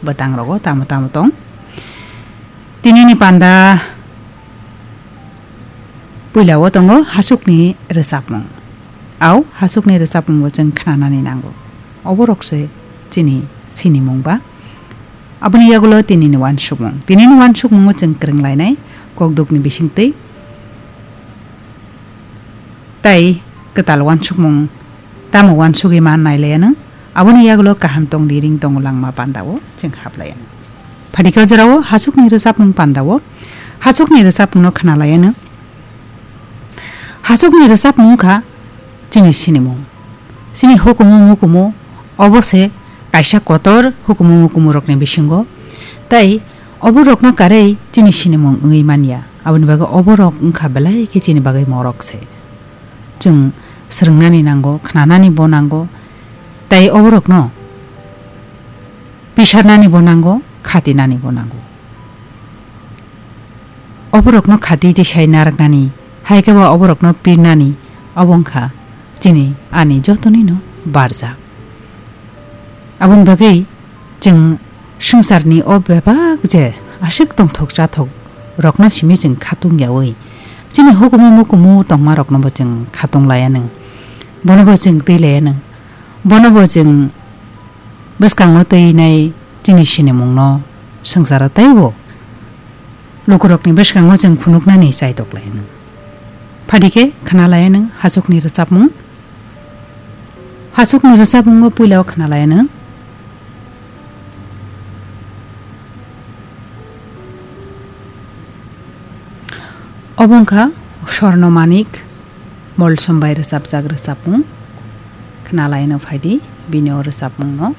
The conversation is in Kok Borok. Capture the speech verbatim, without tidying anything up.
bwtang rogo tamo tamo tong. Tinini panda puila o tongo hasukni rwchapmung. Au hasukni rwchapmung bo chwng khnanani nango. Oborok se chini sinimung ba. Aboni yagulo tinini wansukmung. Tinini wansukmungo chwng kwrwng lainai kokdukni bisingtwi. Tai kwtal wansukmung tamo wansugwi man nailaianw, aboni yagulo kaham tongdi ring tongo langma pandao chwng haplaianw. Phatikhe o jorao hasukni rwchapmung pandao, hasukni rwchapmungno khnalaianw. Hasukni rwchapmung wngkha chini sinimung. Chini hukumu mukumu obo se kaisa kotor hukumu mukumu rokni bisingo. Tai oborokno karwi chini sinimung wngwi manya. Aboni bagwi oborok wngkha belai khe chini bagwi morok se. Chwng swrwngnani nango, khnanani bo nango, tai oborokno pisarnani bo nango, khatinani bo nango. Oborokno khati tisai narwknani, hai khe bo oborokno pirnani, obo wngkha chini ani jotonino barjak. Aboni bagwi chwng swngcharni o bebak je aswk tongthok chathok rokno simi chwng khatung yaui, chini hukumu mukumu tongma rokno bo chwng khatung laianw, bono bo chwng twi laianw, bono bo chwng bwskango twi nai chini sinimungno swngcharo teibo lukurokni bwskango chwng phunuknani chaitok laianw. Phatikhe khna laianw hasukni rwchapmung. Hasukni rwchapmungo puila o khna laianw. Obo wngkha Sorno Manik Molsom bai rwchapjak rwchapmung. Khna laianw phaidi bini o rwchapmungno.